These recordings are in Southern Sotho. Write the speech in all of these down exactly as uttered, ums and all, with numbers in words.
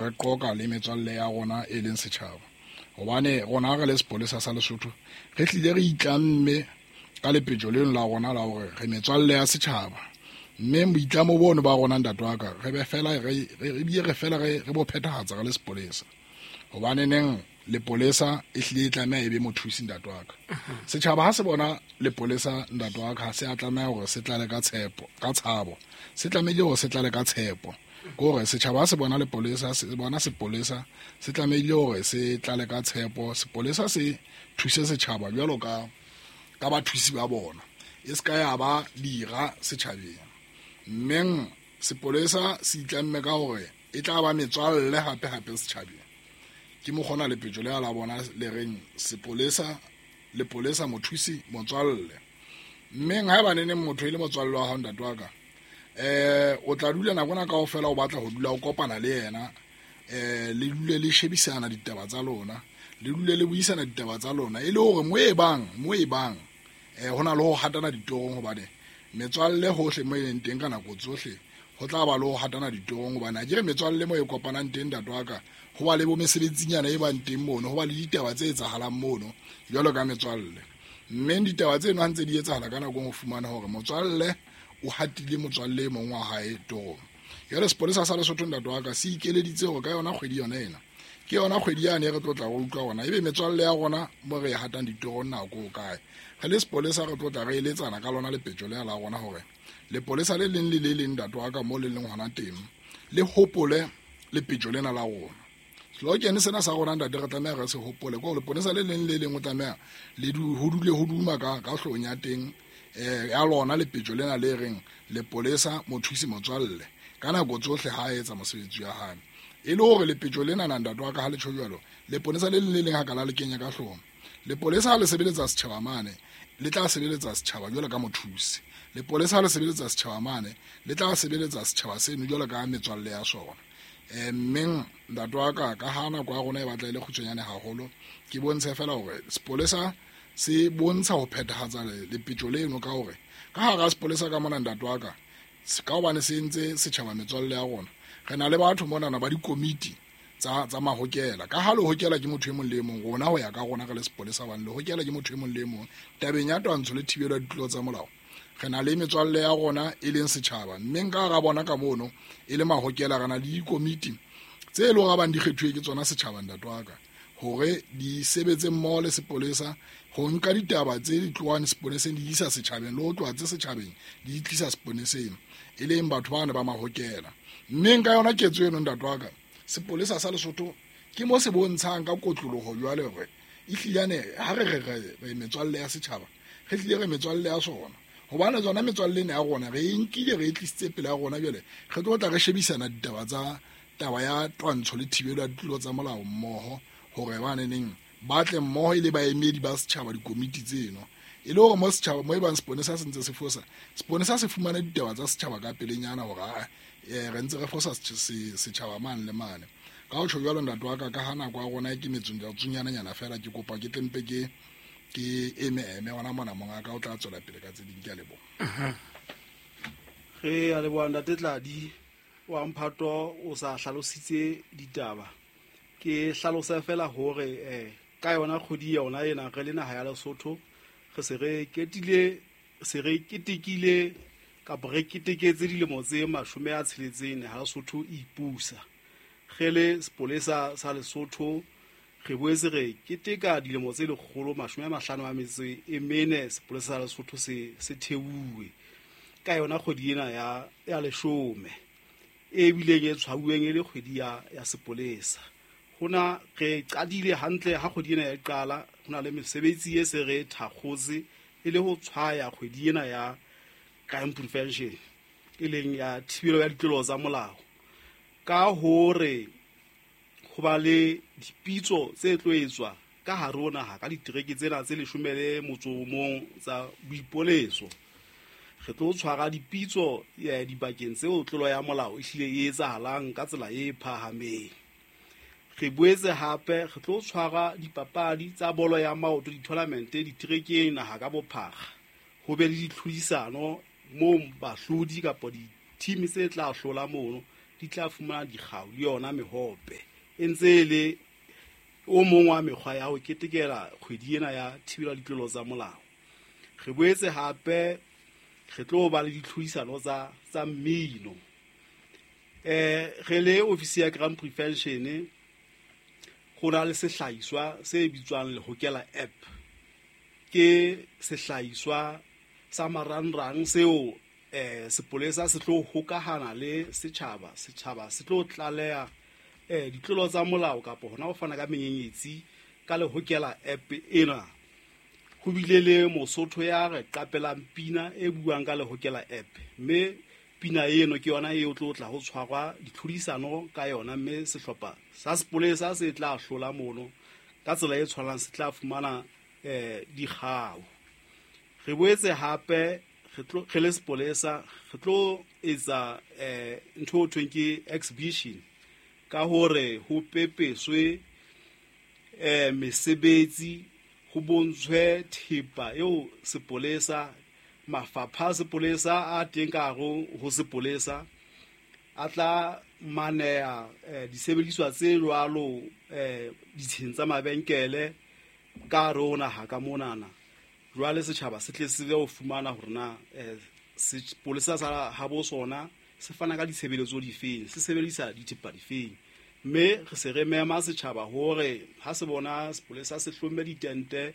Re qoqa le metswalle ya rona e leng setjhaba, hobane rona re le sepolesa sa Lesotho re hlile re itlamme ka lepetjo leno la rona la hore re metswalle ya setjhaba. Mme boitlamo bono ba rona, ntate wa ka, re be fela re re bile re fela re re bo phethahatsa re le sepolesa, hobane neng lepolesa e hlile e tlameha e be mothusi, ntate wa ka. Setjhaba ha se bona lepolesa, ntate wa ka, ha se a tlameha hore se tlale ka tshepo, ka tshabo, se tlamehile hore se tlale ka tshepo. Ke hore setjhaba ha se bona lepolesa, se bona sepolesa, se tlamehile hore se tlale ka tshepo. Sepolesa se thuse setjhaba jwalo ka ka bathusi ba bona, e se ka ya ba dira setjhabeng. Mmeng sepolesa se itlamme ka hore e tla ba metswalle hape hape setjhabeng. Ke mokgona lepetjo le la bona le reng sepolesa, lepolesa mothusi motswalle. Mmeng haeba neneng motho e le motswalle wa hao, ntate wa ka, eh o tla dula nako ena kaofela o batla ho dula o kopana le yena, eh le dule le shebisana ditaba tsa lona, le dule le buisana ditaba tsa lona, e le hore mo e bang mo e bang eh hona le ho hatana ditorong, hobane metswalle hohle mo e leng teng ka nako tsohle ho tla ba le ho hatana ditorong. Hobane ha ke re metswalle mo e kopanang teng, ntate wa ka, ho ba le bo mesebetsinyana e bang teng mono, ho ba le ditaba tse etsahalang mono jwalo ka metswalle. Mme ditaba tseno ha ntse di etsahala ka nako ho fumana hore motswalle o hatile motswalle e mong wa hae torong. Jwale sepolesa sa Lesotho, ntate wa ka, se ikeleditse hore ka yona kgwedi yona ena, ke yona kgwedi yane e re tlo tla re utlwa rona ebe metswalle ya rona mo re e hatang ditorong nako o kae. Re le sepolesa re tlo tla re eletsana ka lona lepetjo lena la rona hore lepolesa le leng le le leng, ntate wa ka, mo le leng hona teng, le hopole lepetjo lena la rona. Slogan sena sa rona, ntate, re tlameha re se hopole, ke hore lepolesa le leng le leng o tlameha le du ho dule ho duma ka ka hloohong ya teng eh ya lona lepetjo lena le reng lepolesa mothusi motswalle ka nako tsohle ha a etsa mosebetsi wa hae. E le hore lepetjo lena na, ntate wa ka, ha le tjho jwalo, lepolesa le leng le leng ha ka la le kenya ka hloohong, lepolesa ha le sebeletsa setjhaba mane, le tla sebeletsa setjhaba jwalo ka mothusi. Lepolesa ha le sebeletsa setjhaba mane, le tla sebeletsa setjhaba seno jwalo ka metswalle ya sona. Eh mmeng ntate wa ka, ka ha nako ya rona e batla e le kgutshwanyane haholo, ke bontshe fela hore sepolesa se bontsha ho phethahatsa lepetjo leno ka hore ka hara sepolesa ka mona, ntate wa ka, ka hobane se entse setjhaba metswalle ya rona, re na le batho monana ba dikomiti tsa tsa mahokela. Ka ha lehokela ke motho e mong le e mong, rona ho ya ka rona re le sepolesa, hobane lehokela ke motho e mong le e mong tabeng ya twantsho le thibelo ya ditlolo tsa molao, re na le metswalle ya rona e leng setjhaba. Mme nka hara bona ka mono e le mahokela, re na le dikomiti tse leng hore bang di kgethuwe ke tsona setjhaba, ntate wa ka, hore di sebetse mmoho le sepolesa ho nka ditaba tse di tlohang sepoleseng di isa setjhabeng, le ho tloha tse setjhabeng di tlisa sepoleseng, e leng batho bana ba mahokela. Mme nka yona ketso eno, ntate wa ka, sepolesa sa Lesotho ke mo se bontshang ka kotloloho jwale hore ehlilane ha re re re metswalle ya setjhaba, re hlile re metswalle ya sona, hobane tsona metswalle ena ya rona re e nkile re e tlisitse pele ya rona. Jwale re tlo tla re shebisana ditaba tsa taba ya twantsho le thibelo ya ditlolo tsa molao mmoho, hore baneneng ba tle mmoho e le baemedi ba setjhaba dikomiti tseno, e le hore mo setjhaba mo e bang seponesa se ntse se fosa, seponesa se fumane ditaba tsa setjhaba ka pelenyana hore a eh re ntse re fosa setjhaba mane le mane. Ka ho tjho jwalo, ntate wa ka, ka ha nako ya rona ke metsong ya tsunyana fela, ke kopa ke tlempe ke ke eme eme hona mona, monga ka o tla tswela pele ka tse ding. Ke a leboha. Re a leboha, ntate Tladi wa Mphato, o sa hlalositse ditaba. Ke hlalosa fela hore eh ka yona kgwedi yona ena re le naha ya Lesotho re se re ketile se re ketekile kapa re keteketse dilemo tse mashome a tsheletseng ha Lesotho e ipusa. Re le sepolesa sa Lesotho re boetse re keteka dilemo tse lekgolo mashome a mahlano a metso e mene sepolesa sa Lesotho se se theuwe ka yona kgwedi ena ya ya leshome e bileng e tshwauweng e le kgwedi ya ya sepolesa. Hona re qadile hantle ha kgwedi ena ya qala, hona le mesebetsi e se re thakgotse e le ho tshwaya kgwedi ena ya crime prevention, e leng ya thibelo ya ditlolo tsa molao, ka hore ho ba le dipitso tse tlo etswa ka hare ho naha ka ditereke tsena tse leshome le motso o mong tsa boipoleso. Re tlo tshwara dipitso ya dibakeng tseo tlolo ya molao e hlile e etsahalang ka tsela e phahameng. Re boetse hape re tlo tshwara dipapadi tsa bolo ya maoto, di-tournament diterekeng naha ka bophara, ho be le ditlhodisano moo bahlodi kapa di-team tse tla hlola mono di tla fumana dikgau le yona mehope. E ntse e le o mong wa mekgwa ya ho ketekela kgwedi ena ya thibelo ya ditlolo tsa molao. Re boetse hape re tlo ba le ditlhodisano tsa tsa mmino. Eh re le ofisi ya crime prevention go na le sehlahiswa se bitswang Lehokela app. Ke sehlahiswa sa marangrang seo eh sepolesa se tlo hokahana le setjhaba, setjhaba se tlo tlaleha eh ditlolo tsa molao kapa hona ho fana ka menyenyetsi ka Lehokela app ena. Ho bile le Mosotho ya re qapelang pina e buang ka Lehokela app, mme pina eno ke yona e tlo tla ho tshwarwa ditlhodisano ka yona, mme sehlopha sa sepolesa se tla hlola mono ka tsela e tshwanang se tla fumana eh dikgau. Re boetse hape re tlo re le sepolesa re tlo etsa eh ntho e thweng ke exhibition ka hore ho pepeswe eh mesebetsi, ho bontshwe thepa eo sepolesa, mafapha a sepolesa a teng ka hare ho sepolesa a tla maneha eh, disebediswa tse jwalo eh, ditsheng tsa mabenkele ka hare ho naha ka monana. Jwale setjhaba se tle se ho fumana hore na eh, sepolesa sa habo sona se fana ka ditshebeletso difeng, se sebedisa dithepa difeng. Mme re se re mema setjhaba hore ha se bona sepolesa se hlomme ditente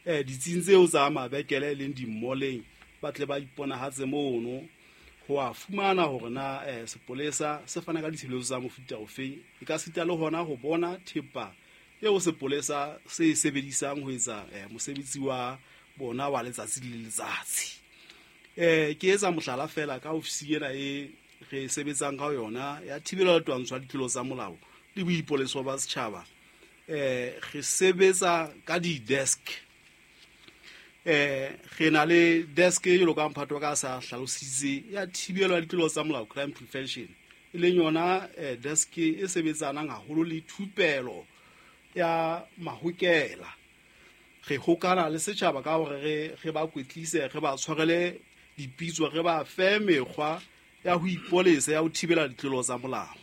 eh ditsing tseo tsa mabekele leng di-malleng, ba tle ba iponahatse mono ho a fumana hore na eh, sepolesa se fana ka ditshebeletso tsa mofuta ofeng. E ka sita le hona ho bona thepa eo sepolesa se e sebedisang ho etsa eh, mosebetsi wa bona wa letsatsi le letsatsi. Eh ke etsa mohlala fela ka ofisi ena e re sebetsang ka yona ya thibelo ya twantsho ya ditlolo tsa molao le boipoleso ba setjhaba. Eh re sebetsa ka di-desk. Eh re na le desk e jwalo ka mphato ka sa hlalositse ya thibelo ya ditlolo tsa molao, crime prevention, e leng yona eh, desk e sebetsanang haholo le thupelo ya mahokela. Re hokana le setjhaba ka hore re re ba kwetlise, re ba tshwarele dipitso, re ba fe mekgwa ya ho ipolesa ya ho thibela ditlolo tsa molao.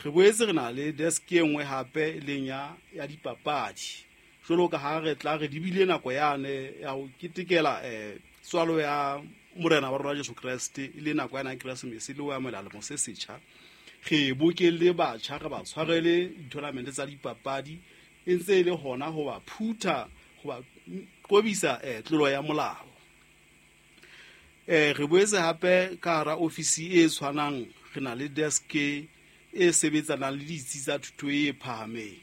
Re boetse re na le desk e nngwe hape e leng ya ya dipapadi. Jwalo ka ha re tla re dibile nako yane ya ho ketekela eh tswalo ya morena wa rona Jesu Kreste, e le nako yana ya Keresemese le ho amohela lemo se setjha. Re bokelle batjha, re ba tshwarele di-tournament tsa dipapadi, e ntse e le hona ho ba phutha, ho ba qobisa eh tlolo ya molao. Eh re boetse hape ka hara ofisi e tshwanang re na le desk e sebetsanang le ditsi tsa thuto e phahameng.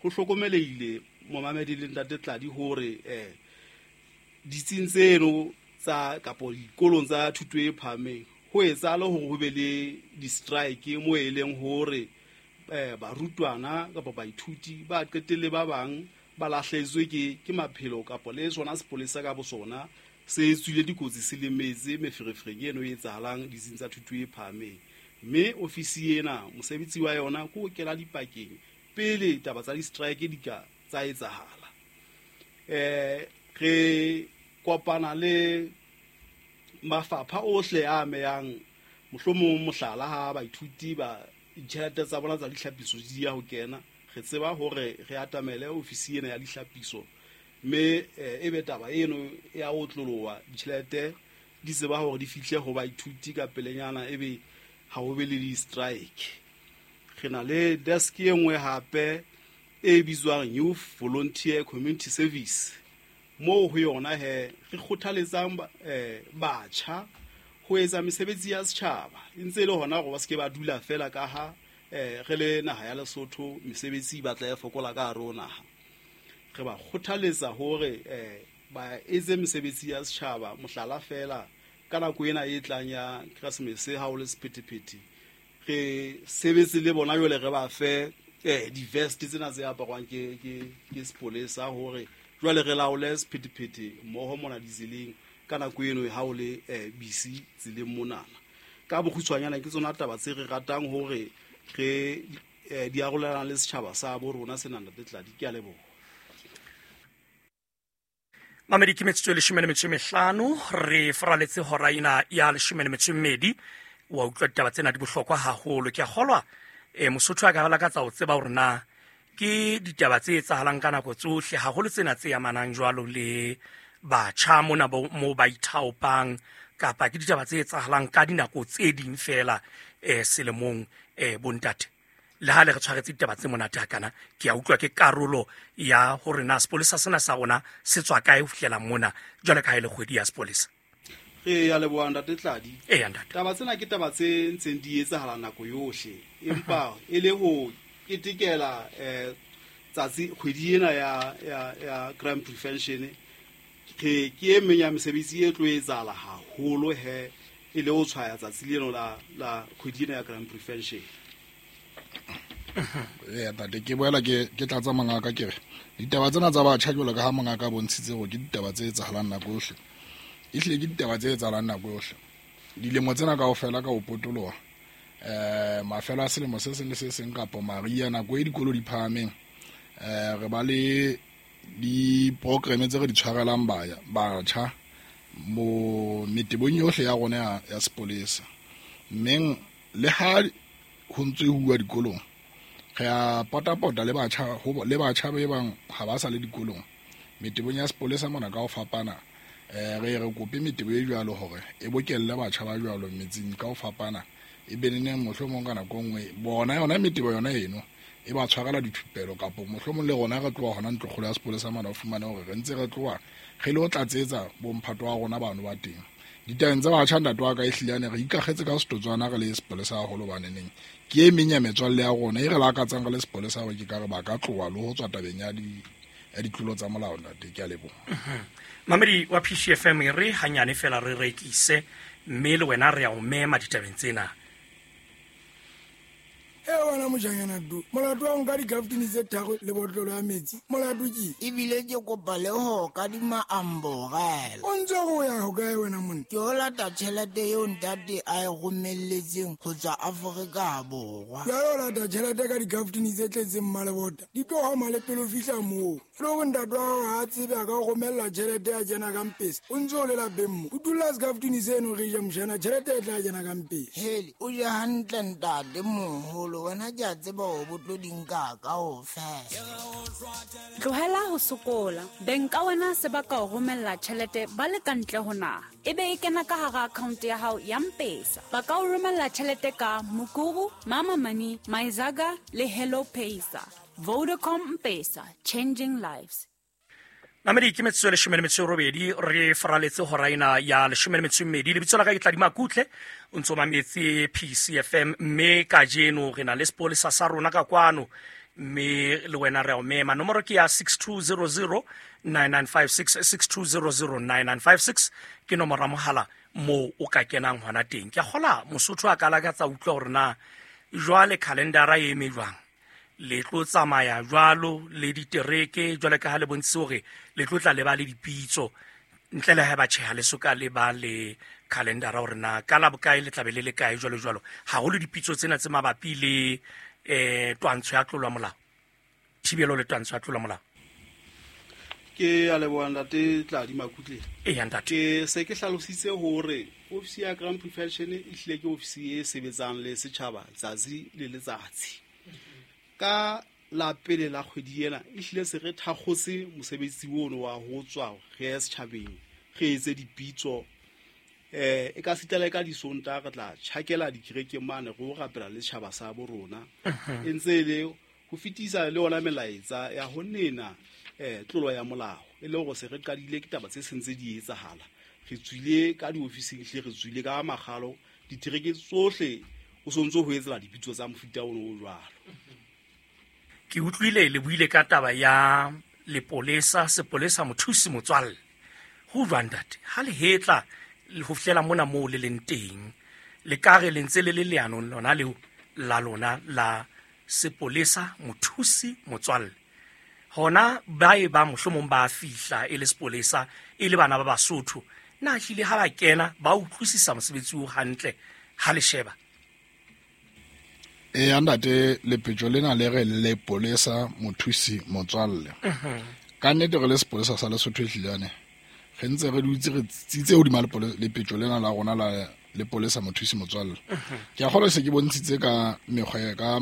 Ho hlokomelehile momamedi le ntate Tladi hore eh ditsing tseno tsa kapo dikolong tsa thuto e phahameng ho etsahala hore ho be le di-strike mo e leng hore eh barutwana kapa baithuti ba qetelle ba bang ba lahlehetswe ke ke maphelo kapa le sona sepolesa ka bosona se tswile dikotsi se lemetse meferefereng eno e etsahalang ditsing tsa thuto e phahameng. Mme ofisi ena mosebetsi wa yona ke ho kena dipakeng pele taba tsa di-strike di ka tsa etsahala. Eh re kopana le mafapha ohle a amehang, mohlomong mohlala ha baithuti ba ditjhelete tsa bona tsa dihlapiso di ya ho kena, re tseba hore re atamele ofisi ena ya dihlapiso, mme e be taba eno ya otloloha, ditjhelete di tseba hore di fihle ho baithuti ka pelenyana, ebe ha ho be le di-strike. Re na le desk e nngwe hape e bitswang Youth Volunteer Community Service, moo ho yona he re kgothaletsang eh batjha ho etsa mesebetsi ya setjhaba, e ntse e le hona hore ba se ke ba dula fela ka ha eh re le naha ya Lesotho mesebetsi e batla e fokola ka hare ho naha. Re ba kgothaletsa hore eh ba etse mesebetsi ya setjhaba, mohlala fela ka nako ena e tlang ya Keresemese ha ho le sephethephethe, re sebetse le bona jwale re ba fe eh di-vest tsena tse aparwang ke ke ke sepolesa hore jwale re laole sephethephethe mmoho mona ditseleng ka nako eno ha o le eh, busy tseleng monana. Ka bokgutshwanyana ke tsona taba tse re ratang hore re eh, di arolelang le setjhaba sa bo rona sena ntate Tladi. Ke a leboha. Mamedi ke metsotso e leshome le metso e mehlano, re faraletse hora ena ya leshome le metso e mmedi Wa utlwa ditaba tsena di bohlokwa haholo. Ke a kgolwa eh Mosotho a ka lakatsa ho tseba hore na ke ditaba tse etsahalang ka nako tsohle, haholo tsena tse amanang jwalo le batjha mona mo ba ithaopang, kapa ke ditaba tse etsahalang ka dinako tse ding fela eh selemong eh bontate. Le ha le re tshwaretse ditaba tse monate hakana, ke a utlwa ke karolo ya hore na sepolesa sena sa rona se tswa kae ho fihlela mona jwale ka ha e le kgwedi ya sepolesa. Re ya leboha ntate Tladi. Eya ntate. Taba tsena ke taba tse ntseng di etsahala nako yohle, empa e le ho ketekela eh tsatsi kgwedi ena ya ya ya crime prevention, ke ke e meng ya mesebetsi e tlo etsahala haholo he e le ho tshwaya tsatsi leno la la kgwedi ena ya crime prevention. Eya ntate, ke boela ke ke tlatsa mongaka ke re ditaba tsena tsa batjha jwalo ka ha mongaka a bontshitse hore ke ditaba tse etsahalang nako yohle, ehlile ke ditaba tse etsahalang nako yohle. Dilemo tsena kaofela ka ho potoloha eh mafelo a selemo se seng le se seng kapa mariha nako e dikolo di phahameng, eh re ba le di-programme tse re di tshwarelang baya batjha mo metebong yohle ya rona ya, ya sepolesa. Mmeng le ha ho ntse ho uwa dikolong, re a potapota le batjha le batjha ba bang ha ba sa le dikolong metebong ya sepolesa mona ka ho fapana. Eh re re kope metebo e jwalo hore e bokelle batjha ba jwalo metseng ka ho fapana, e be neneng mohlomong ka nako nngwe bona yona metebo yona eno e ba tshwarela dithupelo, kapa mohlomong le rona re tloha hona ntlokgolo ya sepolesa mona o fumane hore re ntse re tloha re le ho tlatsetsa bomphato wa rona bano ba teng. Ditabeng tsa batjha ntate wa ka ehlile re ikakgetse ka setotswana re le sepolesa haholo baneneng ke e meng ya metswalle ya rona e re lakatsang re le sepolesa hore ke ka re ba ka tloha le ho tswa tabeng ya di ya ditlolo tsa molao ntate. Ke a leboha. Mamedi wa P C F M, re hanyane fela re rekise mme le wena re a o mema ditabeng tsena. E wena mojanyana du, molato wa nka dikaftini tse tharo le botlolo ya metsi, molato ke ebile ke kopa le ho kadima amborela. O ntse go ya ho kae wena monna? Ke o lata tjhelete eo ntate a e romelletseng ho tswa Afrika Borwa. Jwale o lata tjhelete ka dikaftini tse tletseng mmalebota, di tlo hama le pele o fihla moo. E le hore ntate wa hao ha a tsebe a ka o romella tjhelete ya kena ka mpese, o ntse o le lapeng mo. O dula sekaftini seno re ja mshana, tjhelete e tla kena ka mpese. Hele, o je hantle ntate moholo, wena ke a tseba hore bo tlo di nka kaofela. Tlohela ho sokola. Beng ka wena se ba ka o romella tjhelete ba le ka ntle ho naha, e be e kena ka hara account ya hao ya M-Pesa. Ba ka o romella tjhelete ka Mukuru, Mama Money, Myzaga le Hello Pesa. Vodacom M-Pesa, changing lives. Mamedi ke metsotso e leshome le metso e robedi re faraletse hora ena ya leshome le metso e mmedi. Lebitso la ka ke Tladi Makutle, o ntso mametse P C F M, mme kajeno re na le sepolesa sa rona ka kwano, mme le wena re a o mema. Nomoro ke ya six two zero zero nine nine five six, six two zero zero nine nine five six ke nomoro ya mohala moo o ka kenang hona teng. Ke a kgola Mosotho a ka lakatsa utlwa hore na jwale calendara e eme jwang, le tlo tsamaya jwalo le ditereke jwale ka ha le bontshitse hore le tlo tla le ba le dipitso ntle le ha ba tjheha le soka le ba le calendara hore na ka la bokae le tlabe le le kae jwalo jwalo, haholo dipitso tsena tse mabapi le eh twantsho ya tlolo ya molao, thibelo le twantsho ya tlolo ya molao. Ke a leboha ntate Tladi Makutle. Eya ntate. Ke se ke hlalositse hore ofisi ya crime prevention e hlile ke ofisi e sebetsang le setjhaba tsatsi le letsatsi. Ka la pele la kgwedi ena e hlile se re thakgotse mosebetsi ono wa ho tswa re ye setjhabeng, re etse dipitso eh e ka sitela ka disonta re tla tjhakela dikerekeng mane re o rapela le setjhaba sa bo rona, e ntse e le ho fetisa le ona melaetsa ya ho nena eh tlolo ya molao, e le hore se re qadile ke taba tse sentse di etsahala. Re tswile ka diofising hle, re tswile ka makgalo ditereke tsohle o sontso ho etsela dipitso tsa mofuta ono o jwalo. Ke utlwile le buile ka taba ya lepolesa, sepolesa mothusi motswalle. Ho jwang ntate? Ha le hetla ho fihlela mona moo le leng teng, le ka re le ntse le le leanong lona leo la lona la sepolesa mothusi motswalle. Hona ba e ba mohlomong ba fihla e le sepolesa e le bana ba Basotho, na hlile ha ba kena ba utlwisisa mosebetsi o hantle ha le sheba? E ntate, lepetjo lena le re lepolesa mothusi motswalle. Ka nnete re le sepolesa sa Lesotho ehlilane re ntse re dutse re tsitse hodima lepetjo lena la rona la lepolesa mothusi motswalle. Ke a kgolwa se ke bontshitse ka mekgwa ka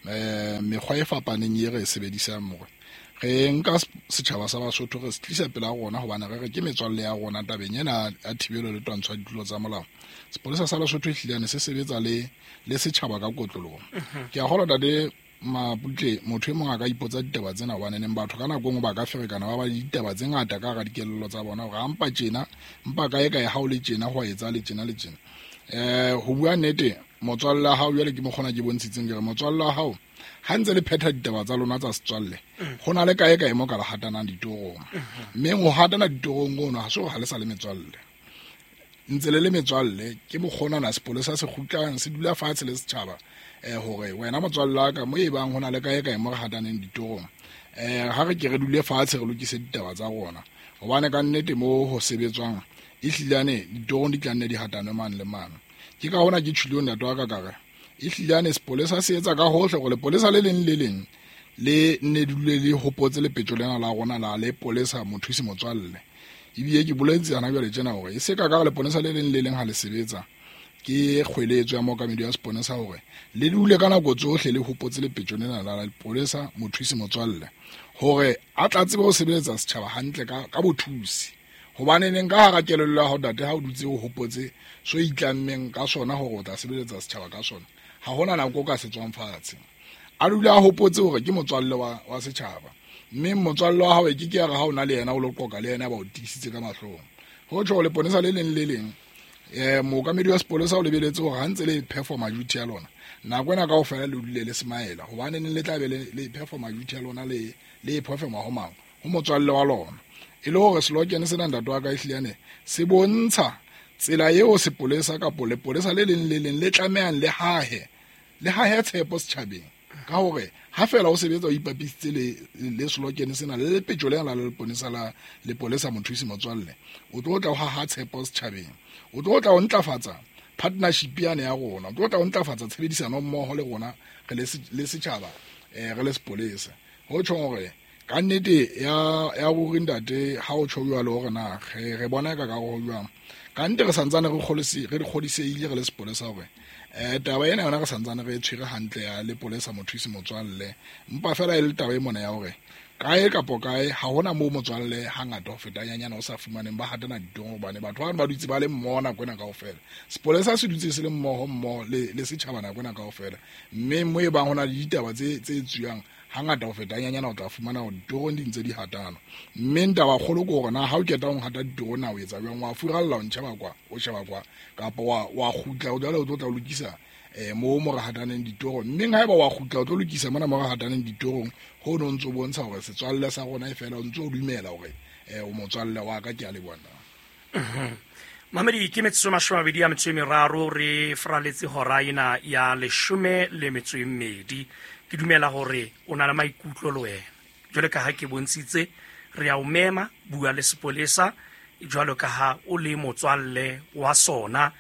eh mekgwa e fapaneng e re e sebedisang mo re nka setjhaba sa Basotho re se tlisa pela rona hobane re re ke metswalle ya rona tabeng ena ya thibelo le twantsho ya ditlolo tsa molao. Sepolesa sa Lesotho ehlile se sebetsa le le setjhaba ka kotloloho. Ke a kgolwa tate Maputle motho e mong a ka ipotsa ditaba tsena hobane neng batho ka nako e nngwe ba ka ferekana ba ba le ditaba tse ngata ka hara dikelello tsa bona hore ampa tjena mpa kae kae ha o le tjena ho a etsa le tjena le tjena. Eh ho bua nnete motswalle wa hao jwale ke mokgona ke bontshitseng ke re motswalle wa hao ha ntse le phetha ditaba tsa lona tsa setswalle ho na le kae kae mo ka le hatanang ditorong, mme ho hatana ditorong ono ha se hore ha le sa le metswalle, ntse le le metswalle. Ke mokgona na sepolesa se kgutlang se dula fatshe le setjhaba eh hore wena motswalle wa ka mo e bang ho na le kae kae mo re hataneng ditorong, eh ha re ke re dule fatshe re lokise ditaba tsa rona hobane ka nnete mo ho sebetswang ehlilane ditorong di tla nne di hatanwe mane le mane. Ke ka hona ke tjhilong ntate wa ka ka re ehlilane sepolesa se etsa ka hohle hore lepolesa le leng le leng le nne dule le hopotse lepetjo lena la rona la lepolesa mothusi motswalle. Ebile ke boletse hana jwale tjena hore e se ka ka lepolesa le leng le leng ha le sebetsa ke kgweletso ya mookamedi wa sepolesa hore le dule ka nako tsohle le hopotse lepetjo lena la lepolesa mothusi motswalle hore a tla tsebe ho sebeletsa setjhaba hantle ka ka bothusi. Hobane neng ka hara kelello ya hao ntate ha o dutse o hopotse so itlammeng ka sona hore o tla sebeletsa setjhaba ka sona, ha hona nako o ka se tswang fatshe. A dule a hopotse hore ke motswalle wa wa setjhaba, mme motswalle wa hao e ke ke ya re ha o na le yena o lo qoqa le yena ba o tiisitse ka mahlong. Ho tjho leponesa le leng le leng eh mookamedi wa sepolesa o lebeletse hore ha ntse le performa duty ya lona nako ena kaofela le dule le smile hobane neng le tla be le performa duty ya lona le le performa ho mang ho motswalle wa lona. E le hore slogan sena ntate wa ka ehlile se bontsha tsela eo sepolesa kapa lepolesa le leng le leng le tlamehang le hahe le hahe tshepo setjhabeng ka hore ha fela o sebetsa o ipapisitse le le slogan sena le lepetjo lena la lepolesa la lepolesa mothusi motswalle, o tlo tla o haha tshepo setjhabeng, o tlo tla o ntlafatsa partnership yane ya rona, o tlo tla o ntlafatsa tshebedisano mmoho le rona re le setjhaba eh re le sepolesa. Ho tjho hore ka nnete ya ya ruri ntate ha o tjho jwalo hore na re re bona ka ka ho jwang ka nnete re santsane re kgolisi re kgodiseile re le sepolesa hore eh taba ena yona re santsane re tshwere hantle ya lepolesa mothusi motswalle, mpa fela e le taba e mona ya hore kae kapo kae ha hona moo motswalle hangata ho feta nyanyana o sa fumaneng ba hatana ditorong hobane batho ba ba dutse ba le mmoho nako ena kaofela. Sepolesa se dutse se le mmoho mmoho le le setjhaba nako ena kaofela, mme mo e bang hona le ditaba tse tse tswang hangata ho feta nyanyana o tla fumana hore ditorong di ntse di hatana. Mme ntaba kgolo ke hore na ha o keta ho hata ditorong na o etsa jwang, wa furalla o ntjhaba kwa o sheba kwa kapa wa wa kgutla o jwale o tlo tla o lokisa eh mo mo re hataneng ditorong. Mme haeba wa kgutla o tlo lokisa mona mo re hataneng ditorong ho no ntso bontsha hore setswalle sa rona e fela o ntso o dumela hore eh o motswalle wa ka ke a le bona. Mamedi ke metsotso mashome a mabedi a metso e meraro re fraletse hora ena ya leshome le metso e mmedi. Ke dumela hore o na le maikutlo le wena jwale ka ha ke bontshitse re a o mema bua le sepolesa jwalo ka ha o le motswalle wa sona.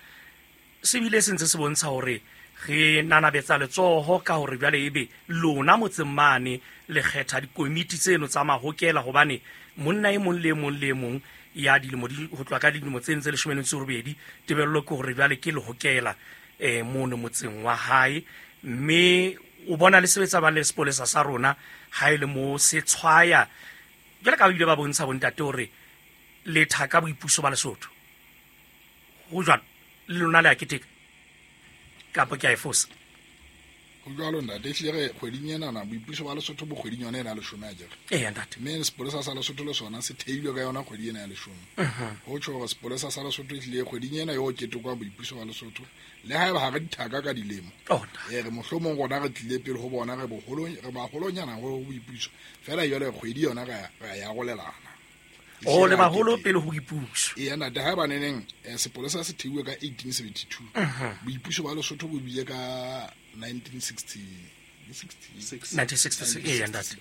Se bile se ntse se bontsha hore re nanabetsa letsoho ka hore jwale ebe lona motseng mane le kgetha dikomiti tseno tsa mahokela hobane monna e mong le mong le mong ya dilemo di ho tloha ka dilemo tse ntse leshome le metso e robedi tebello ke hore jwale ke lehokela eh mono motseng wa hae, mme o bona le sebetsa ba le sepolesa sa rona ha ile mo se tshwaya jwale ka ba ile ba bontsha bontate hore le thaka boipuso ba Lesotho ho jwalo le lona le a keteka kapa ke a e fosa. Ho jwalo ntate ehlile re kgweding ena na boipuso ba Lesotho bo kgweding yona ena ya leshome a jere. Eya ntate. Mme sepolesa sa Lesotho le sona se theilwe ka yona kgwedi ena ya leshome. Ho tjho hore sepolesa sa Lesotho ehlile kgweding ena yo ketekwa boipuso ba Lesotho le haeba ha re dithaka ka dilemo. Eh re mohlomong rona re tlile pele ho bona re boholong re baholonyana ho boipuso fela jwale kgwedi yona re re ya rolelana. O le baholo pele ho boipuso. Eya ntate haeba neneng sepolesa se theuwe ka eighteen seventy-two. Boipuso ba Lesotho bo bile ka nineteen sixty-six nineteen sixty-six eya ntate.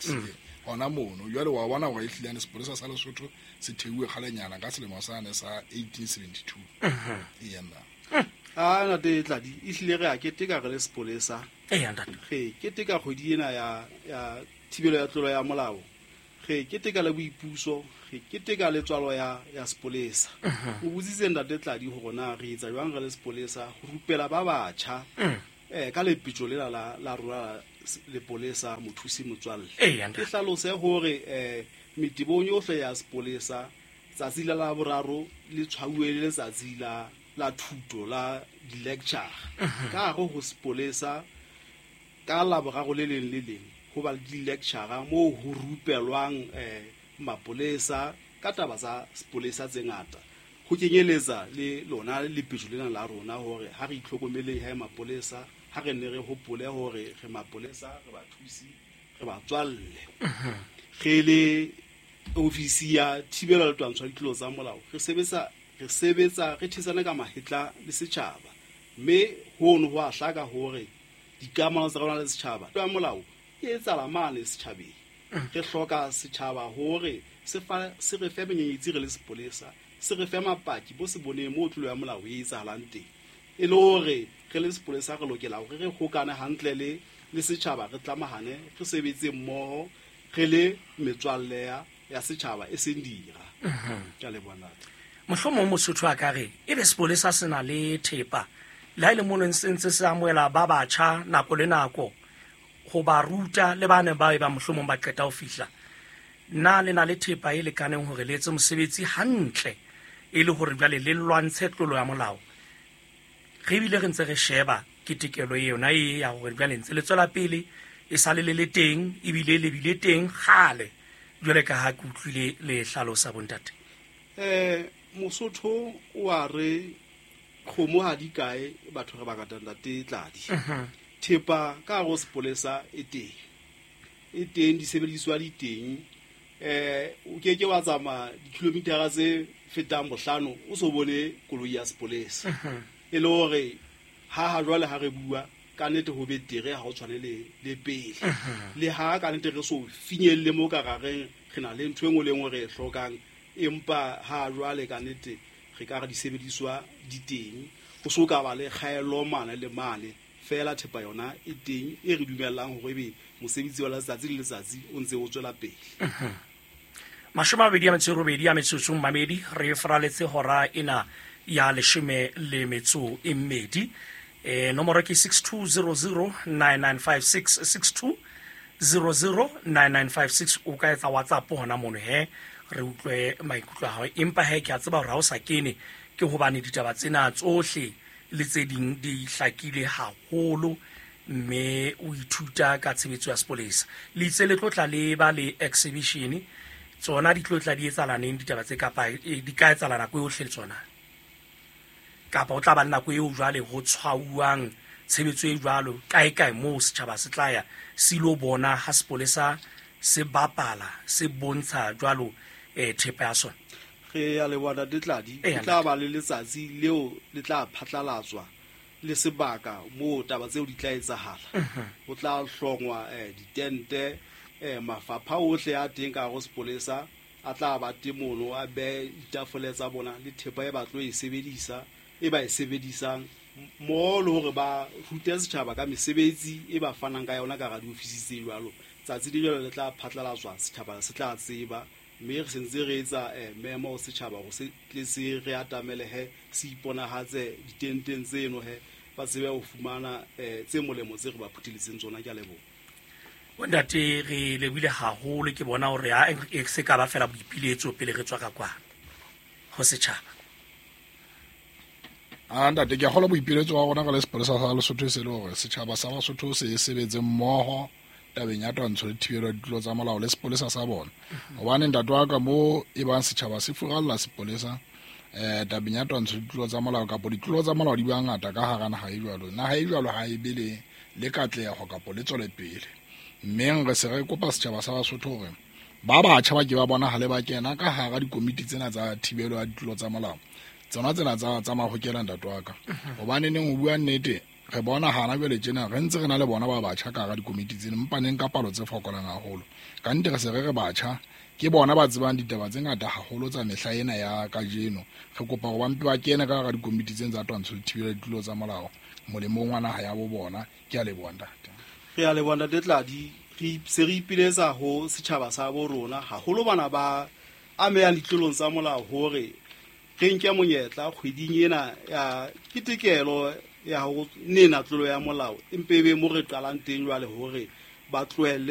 Hona mono jwale wa bona hore ehlile ane sepolesa sa Lesotho se theuwe kgalenyana ka selemo sane sa eighteen seventy-two. Eya nna. Ah ntate Tladi ehlile re a keteka re le sepolesa. Eya ntate. Re keteka kgwedi ena ya ya thibelo ya tlolo ya molao. Re keteka le boipuso, re keteka le tswalo ya ya sepolesa. O botsitse ntate Tladi hore na re etsa jwang re le sepolesa ho rupela ba batjha eh ka lepetjo lela la la rona lepolesa mothusi motswalle. Ke hlalose hore eh metebong yohle ya sepolesa tsatsi la la boraro le tshwauwe le letsatsi la la thuto la di-lecture. Ka hare ho sepolesa ka la boraro le leng le leng ho ba le di-lecture moo ho rupelwang eh mapolesa ka taba tsa sepolesa tse ngata, ho kenyeletsa le lona lepetjo lena la rona hore ha re itlhokomeleng ha mapolesa, ha re ne re hopole hore re mapolesa, re bathusi, re batswalle. Re le ofisi ya thibelo le twantsho ya ditlolo tsa molao re sebetsa re sebetsa re thetsana ka mahetla le setjhaba, mme hono ho a hlaka hore dikamano tsa rona le setjhaba ya molao e etsahala mane setjhabeng. Re hloka setjhaba hore se fa se re fe menyenyetsi re le sepolesa, se re fe mapaki bo se boneng moo tlolo ya molao e etsahalang teng, e le hore re le sepolesa re lokela hore re hokane hantle le le setjhaba, re tlamahane, re sebetse mmoho re le metswalle ya ya setjhaba e seng dira. Ke a leboha ntate. Mohlomong Mosotho a ka re ebe sepolesa se na le thepa le ha e le mono se ntse se amohela ba batjha nako le nako ho ba ruta le ba neng ba e ba mohlomong ba qeta ho fihla, na le na le thepa e lekaneng hore le etse mosebetsi hantle e le hore jwale le lwantshe tlolo ya molao? Re ebile re ntse re sheba ketekelo yona e ya hore jwale ntse le tswela pele e sale le le teng ebile le bile teng kgale jwale ka ha ke utlwile le hlalosa bontate. Eh Mosotho o a re kgomo ha di kae batho re ba ka ntate Tladi. Thepa ka hare ho sepolesa e teng, e teng disebediswa di teng. Eh o ke ke wa tsamaya dikilomitara tse fetang bohlano o so bone koloi ya sepolesa. E le hore ha ha jwale ha re bua ka nnete ho betere ha ho tshwane le le pele. Le ha ka nnete re so finyelle mo ka rareng re na le ntho e nngwe le nngwe re e hlokang, empa ha jwale ka nnete re ka re disebediswa di teng, ho so ka ba le kgaello mane le mane. Fela thepa yona e teng e re dumellang hore ebe mosebetsi wa letsatsi le letsatsi o ntse o tswela pele. Mashome a mabedi a metso e robedi a metsotso mamedi, re faraletse hora ena ya leshome le metso e mmedi. Eh nomoro ke six two zero zero nine nine five six, six two zero zero nine nine five six. O ka etsa WhatsApp hona mono he re utlwe maikutlo a hao, empa he ke a tseba hore ha o sa kene ke hobane ditaba tsena tsohle le tse ding di hlakile haholo, mme o ithuta ka tshebetso ya sepolesa. Le itse le tlo tla le ba le exhibition, tsona di tlo tla di etsahala neng ditaba tse kapa di ka etsahala nako yohle le tsona, kapa o tla ba le nako eo jwale ho tshwauwang tshebetso e jwalo kae kae moo setjhaba se tla ya se ilo bona ha sepolesa se bapala se bontsha jwalo eh thepa ya sona? Re a leboha ntate Tladi. Ho tla ba le letsatsi leo le tla phatlalatswa le sebaka moo taba tseo di tla etsahala. Ho tla hlongwa eh ditente, eh mafapha ohle a teng ka hare ho sepolesa a tla ba teng mono, a behe ditafole tsa bona le thepa e ba tlo e sebedisa e ba e sebedisang mmoho le hore ba rute setjhaba ka mesebetsi e ba fanang ka yona ka hara diofisi tse jwalo. Tsatsi le jwalo le tla phatlalatswa, setjhaba se tla tseba, mme re sentse re etsa memo ho setjhaba hore se tle se re atamele he se iponahatse ditenteng tseno he ba tsebe ho fumana tse molemo tse re ba phutheletseng tsona. Ke a leboha. Ntate, re lebohile haholo. Ke bona hore ha e se ka ba fela boipiletso pele re tswa ka kwana ho setjhaba. A ntate, ke a kgolwa boipiletso wa rona ka le sepolesa sa Lesotho se le hore setjhaba sa Basotho se sebetse mmoho tabeng ya twantsho le thibelo ya ditlolo tsa molao le sepolesa sa bona. Hobane ntate wa ka mo e bang setjhaba se furalla sepolesa eh tabeng ya twantsho le ditlolo tsa molao, kapa ditlolo tsa molao di ba ngata ka hara naha e jwalo. Naha e jwalo ha e be le le katleho kapa le tswele pele. Mme re se re kopa setjhaba sa Basotho hore ba batjha ba ke ba bonahale ba kena ka hara dikomiti tsena tsa thibelo ya ditlolo tsa molao, tsona tsena tsa tsa mahokela ntate wa ka. Hobane neng ho bua nnete re bona hana jwale tjena re ntse re na le bona ba batjha ka hara dikomiti tsena, empa neng ka palo tse fokolang haholo. Ka nnete re se re re batjha ke bona ba tsebang ditaba tse ngata haholo tsa mehla ena ya kajeno. Re kopa hore ba mpe ba kene ka hara dikomiti tsena tsa twantsho le thibelo ya ditlolo tsa molao molemong wa naha ya bo bona. Ke a leboha ntate. Re a leboha ntate Tladi. Re se re ipiletsa ho setjhaba sa bo rona, haholo bana ba amehang ditlolong tsa molao, hore re nke monyetla kgweding ena ya ketekelo ya ho nena tlolo ya molao, empe e be mo re qalang teng jwale hore ba tlohelle.